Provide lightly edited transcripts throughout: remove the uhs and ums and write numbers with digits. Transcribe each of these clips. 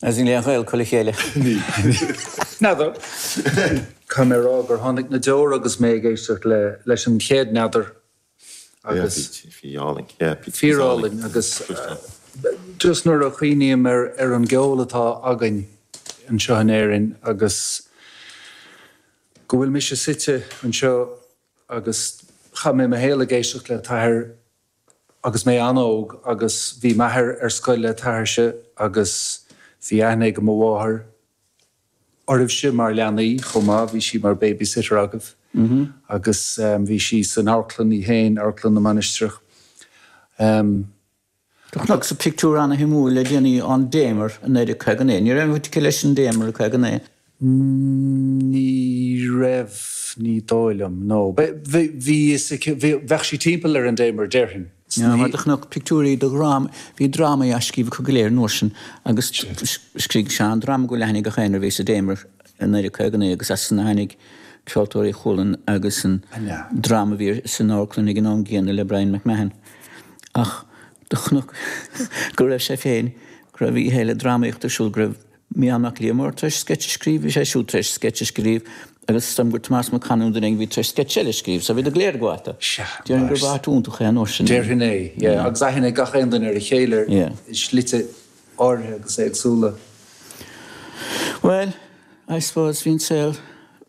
Agus níl aon ghaol acu le chéile. Níl. N'fheadar. Caithfidh mé a rá gur tháinig na deora agus mé ag éisteacht le leis an chéad N'fheadar agus. Yeah, bhí álainn. Yeah, bhí Fíorálainn agus just nuair a chuimhním ar ar an gceol atá againn anseo in Éirinn agus go bhfuil mise suite anseo agus chaith mé mo shaol ag éisteacht le t'athair agus mé an-óg agus bhí m'athair ar scoil le t'athairse agus bhí aithne ag mo mháthair oraibhse mar leanaí chomh maith, bhí sí mar babysitter agaibh agus bhí sí san amharclann í féin, Amharclann na Mainistreach. Do chonacsa pictiúr ana-shuimiúil le déanaí ón Damer i 1959. Ní raibh aon bhaint aici leis an Damer i 59. Ní raibh, ní dóigh liom, no. Bhí fhios aici, bheadh sí timpeall ar an Damer, déarfainn. Sea, mar do chonac pictiúirí de dhráma, bhí drámaí á scríobh acu go léir an uair sin agus scrígh Seán dráma go bhfuil aithne ag gach éinne air a bhí sa Damer i 1959 agus as san a tháinig Ceoltóirí Chualann agus an dráma a bhí san amharclann ag an am gcéanna le Bryan MacMahon. Ach do chonac go raibh sé féin, go raibh oíche eile drámaíochta ar siúl, go raibh Mícheál Mac Liammóir tar éis sceits a scríobh, bhí sé siúd tar éis sceits a scríobh agus is dóigh liom gur Tomás Mac Con nó duine éigin a bhí tar éis sceits eile a scríobh, so bhíodar go léir ag gabháil dó. Sea, Déarfainn gurbh áit iontach é an uair sin. Déarfainn é, yeah. Agus aithne ag gach aon duine ar a chéile i slite áirithe agus éagsúla. Bhuel, I suppose bhí an saol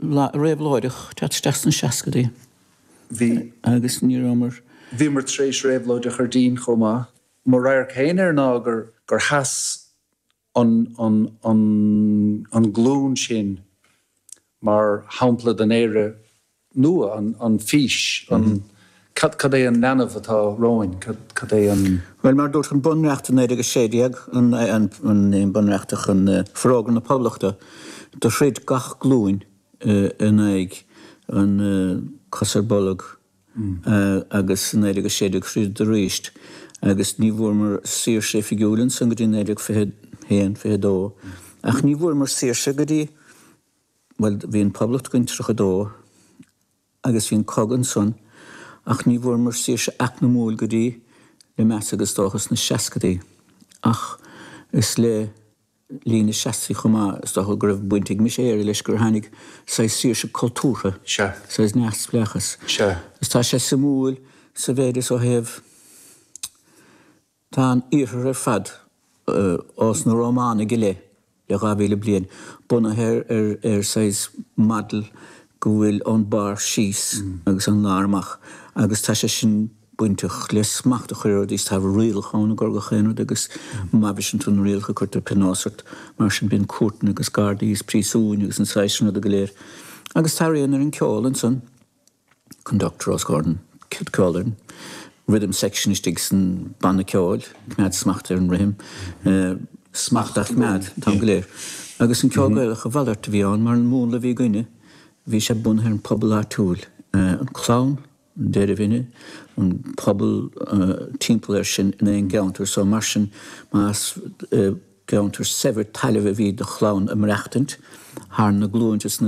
réabhlóideach ag teacht isteach sna seascadaí. Bhí. Agus ní rabhamar. Bhíomar tar éis réabhlóid a chur dínn chomh maith. Mo radharc féin air ná gur gur sheas an an an an glúin sin mar shampla den Éire nua, an an fís, an cad cad é an leanbh atá romhainn, cad cad é an. Bhuel, mar a dúirt an Bunreacht i 1916, an an an Bunreacht ach an Forógra na Poblachta, do throid gach glúin in aghaidh an cos ar bolg agus i 1916 throideadar arís agus ní bhfuaireamar saoirse oifigiúil ansan go dtí 1921, 22 ach ní bhfuaireamar saoirse go dtí, bhuel bhí an Poblacht againn 32 agus bhí an cogadh ansan ach ní bhfuaireamar saoirse eacnamúil go dtí le meas agus dócha sna seascadaí ach is le linn na seascaidí chomh maith, is dócha go raibh baint ag Mise Éire leis gur tháinig saghas saoirse cultúrtha, saghas neamhspleáchas. Is tá sé suimiúil sa mhéid is ó thaobh, tá an Iarthar ar fad ós na Rómánaigh i leith le 2,000 bliain, bunaithe ar ar saghas model go bhfuil ón barr síos agus ón lár amach agus tá sé sin bainteach le smacht a chur ar rudaí is tá rialacha ann i gcomhair gach aon rud agus má bhriseann tú na rialacha cuirtear pionós ort mar sin bíonn cúirteanna agus gardaí is príosúin agus an saghas sin ruda go léir agus tá rian ar an ceol ansan conductor os comhair an ceolfhoireann rhythm section istigh san banna ceoil coimeád smacht ar an rithim smacht á choimeád an t-am go léir agus an ceol Gaelach a mhalairt a bhí ann mar an múnla a bhí againne bhí sé bunaithe ar an pobal áitiúil an clann an deirmhine, an pobal timpeall air sin in aon gceantar so mar sin más i gceantar saibhir tailimh a bhí do chlann ag maireachtaint thar na glúinte is na.